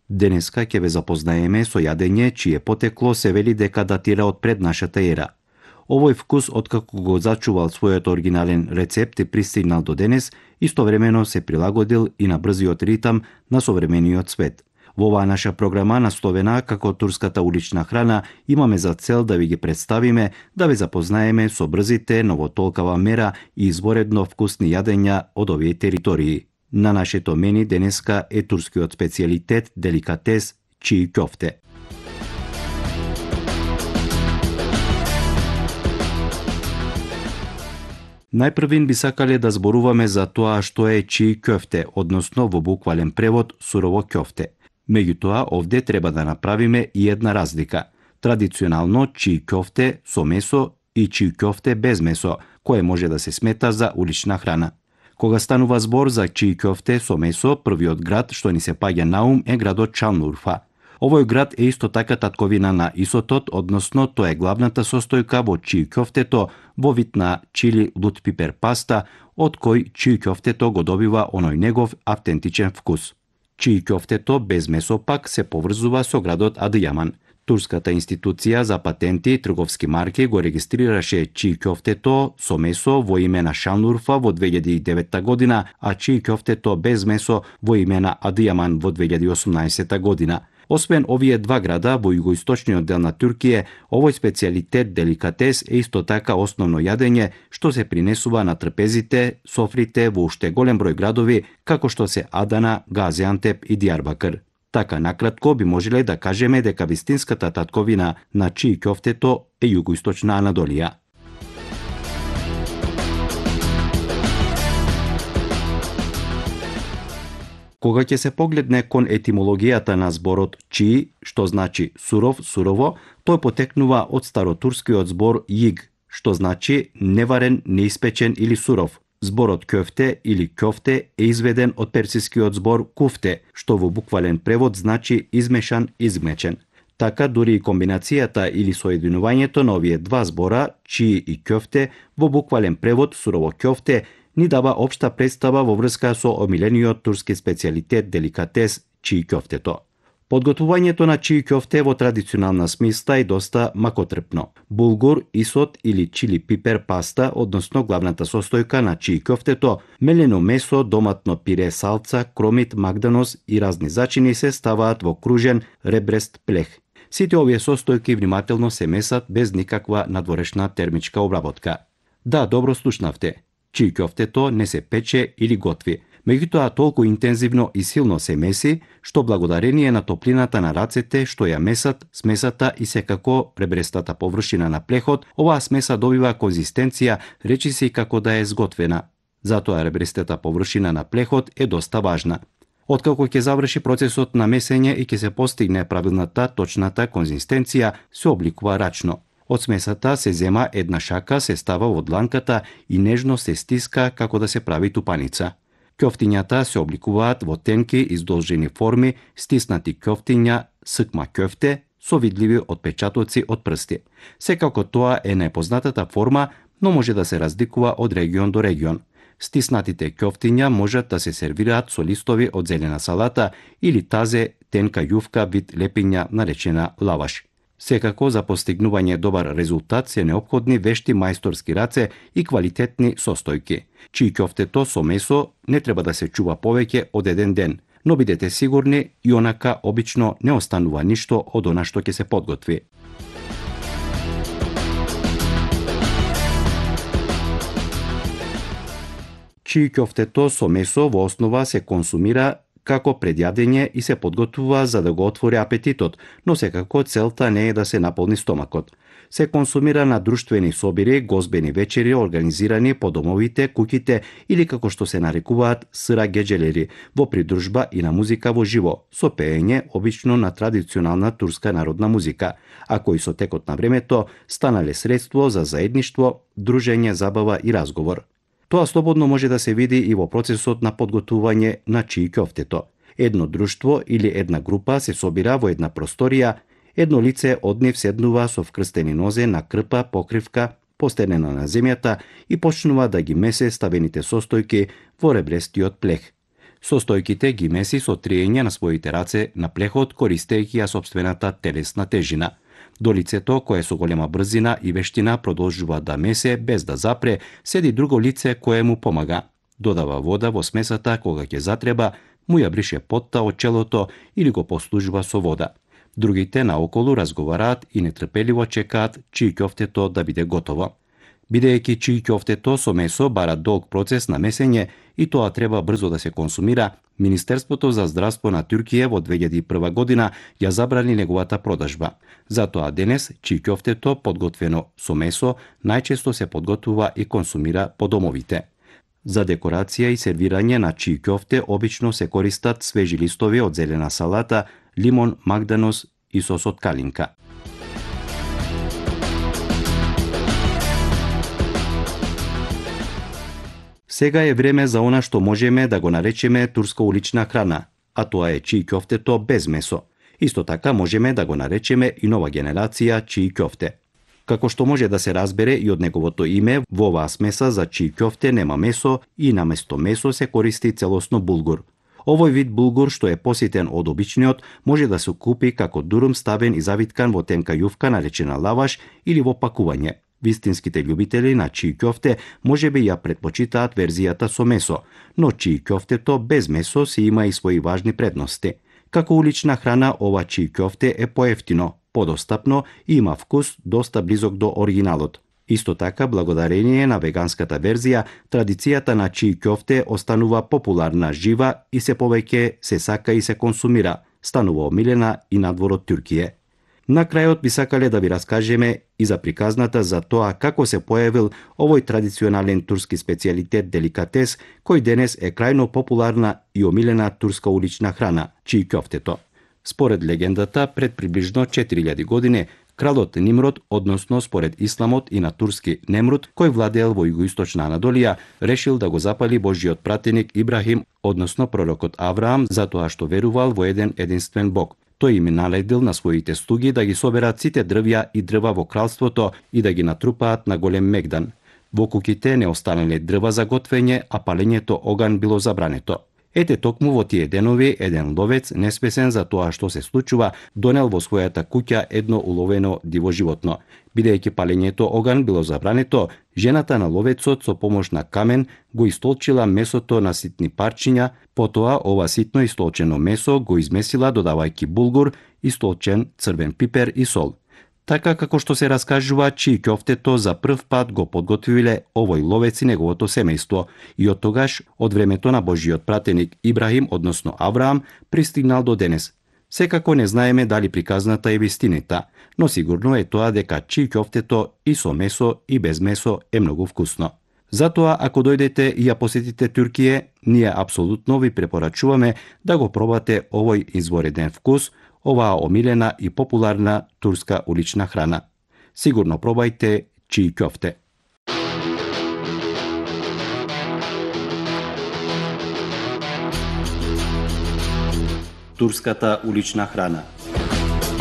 Денеска ќе ве запознаеме со јадење чие потекло се вели дека датира од пред нашата ера. Овој вкус, откако го зачувал својот оригинален рецепт и пристигнал до денес, истовремено се прилагодил и на брзиот ритам на современиот свет. Во оваа наша програма, насловена како турската улична храна, имаме за цел да ви ги представиме, да ве запознаеме со брзите, но во толкава мера и изворедно вкусни јадења од овие територии. На нашето мени денеска е турскиот специјалитет, деликатес чии кјофте. Најпрвин би сакале да зборуваме за тоа што е чии кјофте, односно во буквален превод сурово кјофте. Меѓутоа, овде треба да направиме и една разлика. Традиционално чии кјофте со месо и чии кјофте без месо, кое може да се смета за улична храна. Кога станува збор за чии кјофте со месо, првиот град што ни се паѓа на ум е градот Шанлурфа. Овој град е исто така татковина на Исотот, односно тоа е главната состојка во чии кјофтето во вид на чили лут пипер паста, од кој чии кјофтето го добива оној негов автентичен вкус. Чии кјофтето без месо пак се поврзува со градот Адијаман. Турската институција за патенти и трговски марки го регистрираше чии кјофтето со месо во име на Шанлурфа во 2009 година, а чии кјофтето без месо во име на Адијаман во 2018 година. Освен овие два града во југоисточниот дел на Туркија, овој специјалитет деликатес е исто така основно јадење што се принесува на трпезите, софрите во уште голем број градови, како што се Адана, Газиантеп и Дијарбакр. Така накратко би можеле да кажеме дека вистинската татковина на чии кјофтето е југоисточна Анадолија. Кога ќе се погледне кон етимологијата на зборот чии, што значи суров, сурово, тој потекнува од старотурскиот збор јиг, што значи неварен, неиспечен или суров. Зборот кјофте или кјофте е изведен од персискиот збор куфте, што во буквален превод значи измешан, измечен. Така дури и комбинацијата или соединувањето на овие два збора, чии и кјофте, во буквален превод сурово кјофте, ни дава општа представа во врска со омилениот турски специјалитет деликатес чии кјофтето. Подготвувањето на чии кјофте во традиционална смисла е доста макотрпно. Булгур, исот или чили пипер паста, односно главната состојка на чии кјофтето, мелено месо, доматно пире, салца, кромит, магданос и разни зачини се ставаат во кружен ребрест плех. Сите овие состојки внимателно се месат без никаква надворешна термичка обработка. Да, добро слушнавте. Чии кјофтето не се пече или готви, меѓутоа толку интензивно и силно се меси, што благодарение на топлината на рацете што ја месат, смесата и секако ребрестата површина на плехот, оваа смеса добива конзистенција речиси како да е сготвена. Затоа ребрестата површина на плехот е доста важна. Откако ќе заврши процесот на месење и ќе се постигне правилната, точната конзистенција, се обликува рачно. Од смесата се зема една шака, се става во дланката и нежно се стиска како да се прави тупаница. Кјофтињата се обликуваат во тенки издолжени форми, стиснати кјофтиња, сыкма кјофте, со видливи отпечатоци од прсти. Секако тоа е најпознатата форма, но може да се разликува од регион до регион. Стиснатите кјофтиња можат да се сервираат со листови од зелена салата или тазе тенка јувка вид лепиња наречена лаваш. Секако за постигнување добар резултат се неопходни вешти мајсторски раце и квалитетни состојки. Чии кјофтето со месо не треба да се чува повеќе од еден ден, но бидете сигурни и онака обично не останува ништо од она што ќе се подготви. Чии кјофтето со месо во основа се консумира како предјадење и се подготвува за да го отвори апетитот, но секако целта не е да се наполни стомакот. Се консумира на друштвени собири, гозбени вечери организирани по домовите, куќите или како што се нарекуваат сыра геџелери, во придружба и на музика во живо, со пеење обично на традиционална турска народна музика, а кои со текот на времето станале средство за заедништво, дружење, забава и разговор. Тоа слободно може да се види и во процесот на подготвување на чии кјофтето. Едно друштво или една група се собира во една просторија, едно лице од нив седнува со вкрстени нозе на крпа, покривка, постенена на земјата и почнува да ги месе ставените состојки во ребрестиот плех. Состојките ги меси со триење на своите раце на плехот, користејќи ја сопствената телесна тежина. До лицето кое со голема брзина и вештина продолжува да месе без да запре, седи друго лице кое му помага. Додава вода во смесата кога ќе затреба, му ја брише потта од челото или го послужува со вода. Другите наоколу разговараат и нетрпеливо чекаат чии ќофтето да биде готово. Бидејќи чии ќофтето со месо бара долг процес на месење и тоа треба брзо да се консумира, Министерството за здравство на Туркија во 2001 година ја забрани неговата продажба. Затоа денес чии ќофтето подготвено со месо најчесто се подготвува и консумира по домовите. За декорација и сервирање на чии ќофте обично се користат свежи листови од зелена салата, лимон, магданос и сос од калинка. Сега е време за она што можеме да го наречеме турска улична храна, а тоа е чии ќофтето без месо. Исто така можеме да го наречеме и нова генерација чии ќофте. Како што може да се разбере и од неговото име, во оваа смеса за чии ќофте нема месо и наместо месо се користи целосно булгур. Овој вид булгур што е поситен од обичниот може да се купи како дурум ставен и завиткан во тенка јувка наречена лаваш или во пакување. Вистинските љубители на чии ќофте можеби ја претпочитаат верзијата со месо, но чии ќофтето без месо си има и своји важни предности. Како улична храна ова чии ќофте е поевтино, подостапно и има вкус доста близок до оригиналот. Исто така, благодарение на веганската верзија, традицијата на чии ќофте останува популарна, жива и се повеќе се сака и се консумира, станува омилена и надвор од Туркија. На крајот би сакале да ви раскажеме и за приказната за тоа како се појавил овој традиционален турски специјалитет деликатес, кој денес е крајно популарна и омилена турска улична храна, чии ќофтето. Според легендата, пред приближно 4000 години, кралот Нимрод, односно според исламот и на турски Немруд, кој владеел во југоисточна Анадолија, решил да го запали Божиот пратеник Ибрахим, односно пророкот Авраам, затоа што верувал во еден единствен Бог. Тој им наледил на своите слуги да ги соберат сите дрвја и дрва во кралството и да ги натрупаат на голем мегдан. Во куќите не останале дрва за готвење, а палењето оган било забрането. Ете токму во тие денови еден ловец, неспесен за тоа што се случува, донел во својата куќа едно уловено диво животно. Бидејќи палењето оган било забрането, жената на ловецот со помош на камен го истолчила месото на ситни парчиња, потоа ова ситно истолчено месо го измесила додавајќи булгур, истолчен црвен пипер и сол. Така како што се раскажува, чии ќофтето за прв пат го подготвиле овој ловец и неговото семејство и од тогаш, од времето на Божиот пратеник Ибрахим, односно Авраам, пристигнал до денес. Секако не знаеме дали приказната е вистинита, но сигурно е тоа дека чии ќофтето и со месо и без месо е многу вкусно. Затоа, ако дојдете и ја посетите Туркија, ние апсолутно ви препорачуваме да го пробате овој извореден вкус, оваа омилена и популарна турска улична храна. Сигурно пробајте чии ќофте. Турската улична храна.